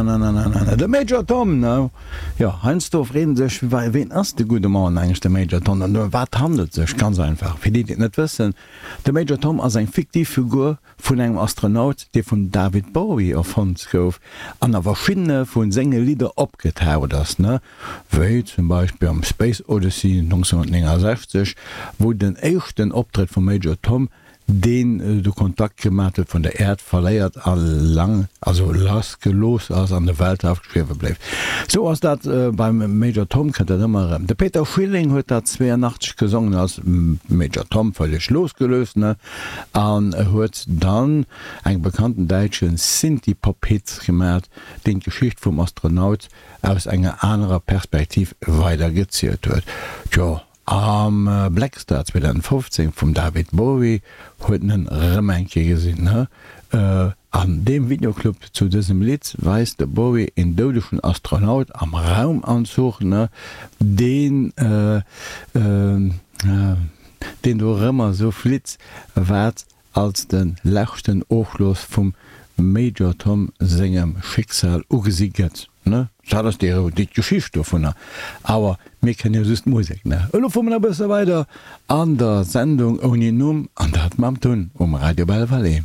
Na-na-na-na-na-na, de Major Tom, ne? Jo, heiansdo freet een sech, ween ass de gudde Mann eigentlech, de Major Tom, an ëm wat handelt et sech? Ganz einfach, fir déi, déi et net wëssen, De Major Tom ass eng fiktiv Figur vun engem Astronaut, dee vum David Bowie erfonnt gouf an a verschiddene vu senge Lidder opgetaucht ass, ne? Wéi zum Beispill am Space Odyssey 1969, wou den éischten Optrëtt vum Major Tom deen de Kontakt gemat huet, vun der Äerd verléiert a lang, also lass gelooss ass an de Weltraum schwiewe bléift. Sou ass dat beim Major Tom, kënnt dat ëmmer erëm. De Peter Schilling huet dat 82 gesongen als Major Tom, völleg losgelöst, ne, an huet dann eng bekannten däitsche Synthie-Pop-Hit gemat, deen d'Geschicht vum Astronaut aus enger anerer Perspektiv weider gezielt huet. Tjo, Am Blackstar 2015 vum David Bowie huet en en rëm eng Kéier gesinn. An deem Videoclub zu dësem Lidd weist de Bowie een doudegen Astronaut am Raumanzuch, deen deen dorëmmer sou flitt, wat als de leschten Ofschloss vum Major Tom sengem Schicksal ugesi gëtt, ne? Dat ass déi déi d'Geschicht dovunner, awer mir kennen jo just d'Musek, ne? Elo fuere mer nach e bësse weider an der Sendung ouni Numm, an dat mam Tun um Radio Belval.